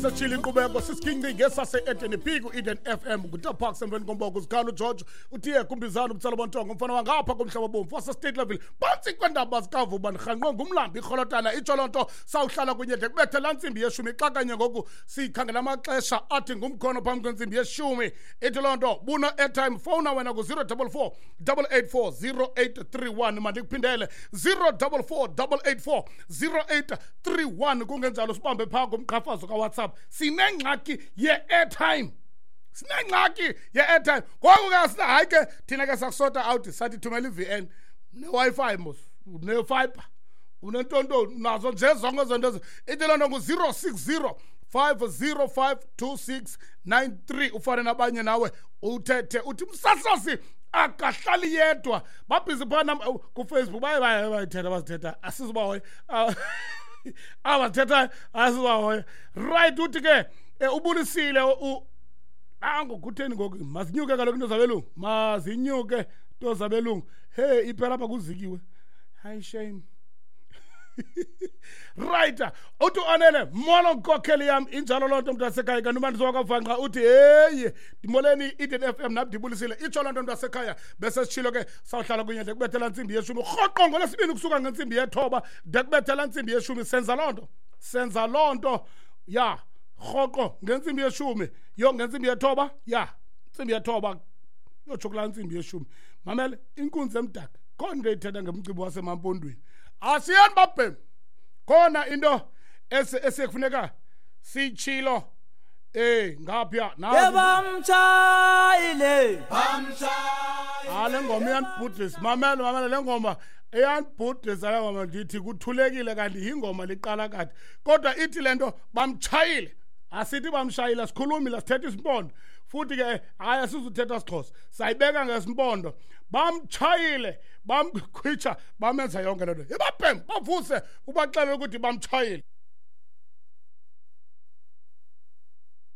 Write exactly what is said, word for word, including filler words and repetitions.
Sitshile inkqubeko sisiginci ngesase-Eden P ku-Eden F M nguTap Parks emveni komboko uzikhalo uGeorge uthiye kumbizana umtsalo bontongo umfana wangapha komhlaba bomvu wase-State Level phantsi kweendaba zikaVuba ndirhanqwe ngumlambi irholotana itsho loo nto sawuhlala kunye de kubethe laa ntsimbi yeshumi xa kanye ngoku sikhangela amaxesha athi ngumkhono phambi kwentsimbi yeshumi ithi loo nto buna airtime fowuna wena ku-zero double four double eight four zero eight three one mandikuphindele zero double four double eight four zero eight three one kungenjalo sibambe phaa kumqhafazo kaWhatsApp. Sinengxaki ye-airtime, sinengxaki ye-airtime ngoku ke sina hayi ke thina ke sakusota out sathi thumela i-V N ne-Wi-Fi mos une-fiber unentontoni nazo nje zonke ezo nto ithi loo nto ngu-zero six zero five zero five two six nine three ufane nabanye nawe uthethe uthi umsasazi akahlali yedwa babhizi phana kuFacebook baye baye bayithetha bazithetha asizubahoya abathetha asibahoya right uthi ke ubulisile ango kutheni ngoku mazinyuke kaloku into zabelungu mazinyuke into zabelungu hey iphela apha kuzikiwe hayi shame right uthi anele molo nkokheli yam injalo loo nto mntasekhaya kanti umandiso wakavanqa uthi heyi ndimoleni Eden F M nam ndibulisile itsho loo nto mntasekhaya bese sitshilo ke sawuhlala kunye de kubethela ntsimbi yeshumi rhoqo ngolwesibini kusuka ngentsimbi yethoba de kubethela ntsimbi yeshumi senza loo nto senza loo nto ya rhoqo ngentsimbi yeshumi yo ngentsimbi yethoba ya ntsimbi yethoba yotsho kulaa ntsimbi yeshumi mamele inkunzi emdaka khona into eyithetha ngemcimbi wasemampondweni asiyani babhem khona into esekufuneka sitshilo eh ngapha nazi bamtshayile bamtshayile le ngoma iyanibhudisa mamela mamela le ngoma iyanibhudisa le ngoma ndithi kuthulekile kanti yingoma liqala kade kodwa ithi le nto bamtshayile asithi bamshayile sikhulumile sithetha isimpondo futhi ke hayi asizuthetha siXhosa sayibeka ngesimpondo bamtshayile bamkhwitsha bamenza yonke le nto ibabhem bavuse ubaxelela ukuthi bamtshayile.